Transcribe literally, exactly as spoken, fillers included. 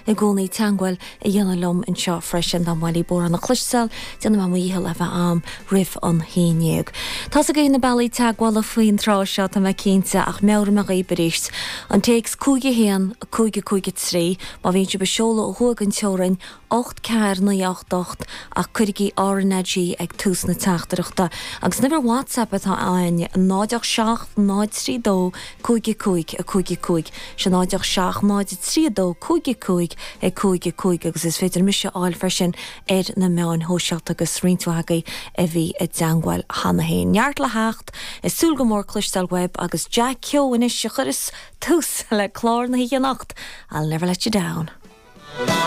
i gcónaí teagmháil a dhéanamh liom anseo freisin dá mba mhaith libh amhrán a chloisteáil déanfaidh mé mo dhícheall a bheith ann roimh an haon déag. Tá agaibh na bealaí teagmhála faoin tráth seo tá mé cinnte ach meabhróidh mé dhaoibh arís. An téacs cúig a haon cúig cúig trí má bhíonn sibh ag seoladh ó thuaidh den teorainn ocht ceathair naoi ocht ocht ach cuirigí RnaG ag tús na teachtaireachta. Agus an uimhir WhatsApp atá ann náid seacht náid trí dó cúig cúig a cúig cúig sé náid seacht náid trí dó cúig cúig a cúig cúig agus is féidir mise a fháil freisin ar na meáin shóisialta agus roinnt agaibh a bhí i dteagmháil cheana féin. Neart le theacht is súil go mór cloisteáil uaibh agus Jack Keogh anois a chuireas tús le clár na hoíche anocht. I'll never let you down.